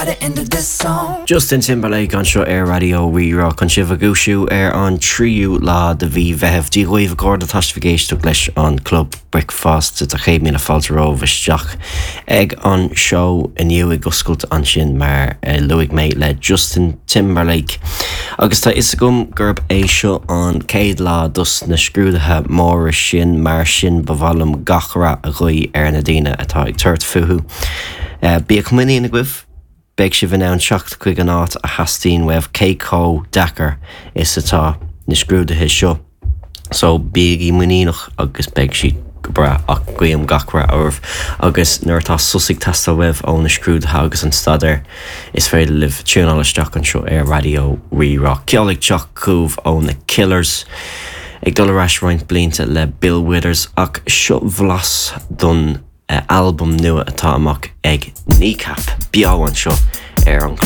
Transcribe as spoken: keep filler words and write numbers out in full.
by the end of this song. Justin Timberlake anseo ar Raidió Rí-Rá chun sibh a dhúisiú ar an tríú lá de mhí Mheithimh Dia dhaoibh a chairde tá sibh ag éisteacht leis an Club Bricfeasta tá céad míle fáilte romhaibh isteach ag an seó inniu ag oscailt ansin mar eh, luaigh mé le Justin Timberlake. Agus tá fhios agam gurb é seo an céad lá dos na scrúduithe móra sin mar sin ba mhaith liom gach rath a ghuí ar na daoine atá ag tabhairt fúthu. Uh, Bíodh muinín agaibh, beidh sibh in ann teacht chuig an áit a theastaíonn uaibh cé chomh deacair is atá na scrúduithe seo. So bígí muiníneach agus beidh siad go breá ach guím gach rath oraibh agus nuair atá sos ag teastáil uaibh ó na scrúduithe agus an staidéar is féidir libh tiúnáil isteach anseo ar Raidió Rí-Rá. Ceol ag teacht chugaibh ó na Killers. Ag dul ar ais roinnt blianta le Bill Withers ach seo blas don uh, album nua atá amach ag Kneecap beo anseo ar an